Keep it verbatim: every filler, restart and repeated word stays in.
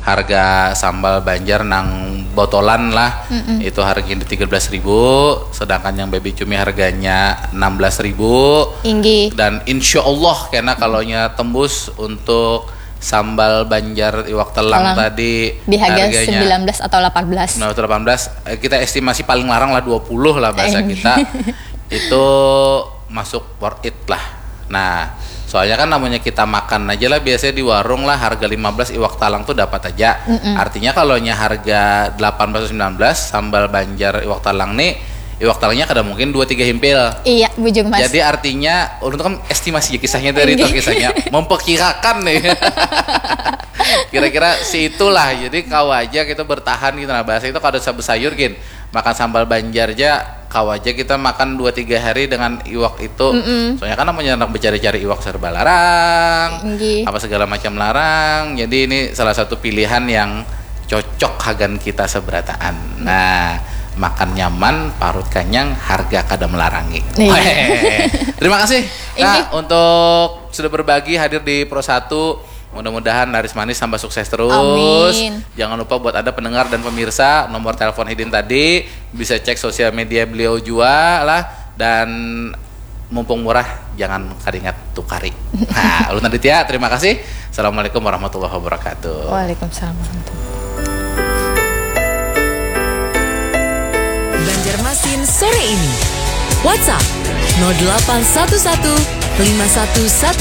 harga sambal Banjar nang botolan lah, itu harganya di tiga belas ribu, sedangkan yang baby cumi harganya enam belas ribu. Inggih. Dan insya Allah kena kalonya tembus untuk sambal Banjar iwak telang Telang. Tadi Di harga harganya sembilan belas atau delapan belas. sembilan belas atau delapan belas, eh, kita estimasi paling larang lah dua puluh lah bahasa Eh. Kita. Itu masuk worth it lah. Nah, soalnya kan namanya kita makan aja lah, biasanya di warung lah harga lima belas iwak talang tuh dapat aja. Artinya kalonya harga delapan belas atau sembilan belas, sambal Banjar iwak talang nih, iwak talangnya kada mungkin dua tiga himpil. Iya, bujur mas. Jadi artinya, ulun tuh kan estimasi aja kisahnya dari itu, kisahnya memperkirakan nih. Kira-kira si itulah, jadi kawa aja kita bertahan gitu. Nah, bahasa itu kada usah besayur gin, makan sambal Banjar aja, kawa aja kita makan dua tiga hari dengan iwak itu. Soalnya kan namanya anak bercari-cari iwak serba larang, Inggih. apa segala macam larang. Jadi ini salah satu pilihan yang cocok hagan kita seberataan. Nah, makan nyaman, parut kanyang, harga kada melarangi. Iya. Terima kasih, Kak, Inggih. Untuk sudah berbagi, hadir di Pro Satu. Mudah-mudahan laris manis, tambah sukses terus. Amin. Jangan lupa buat Anda pendengar dan pemirsa, nomor telepon Hidin tadi, bisa cek sosial media beliau jua lah. Dan mumpung murah, jangan karingat tukari. Nah, ulun Aditya, terima kasih. Assalamualaikum warahmatullahi wabarakatuh. Waalaikumsalam warahmatullahi. Banjarmasin sore ini. WhatsApp nol delapan satu satu lima satu satu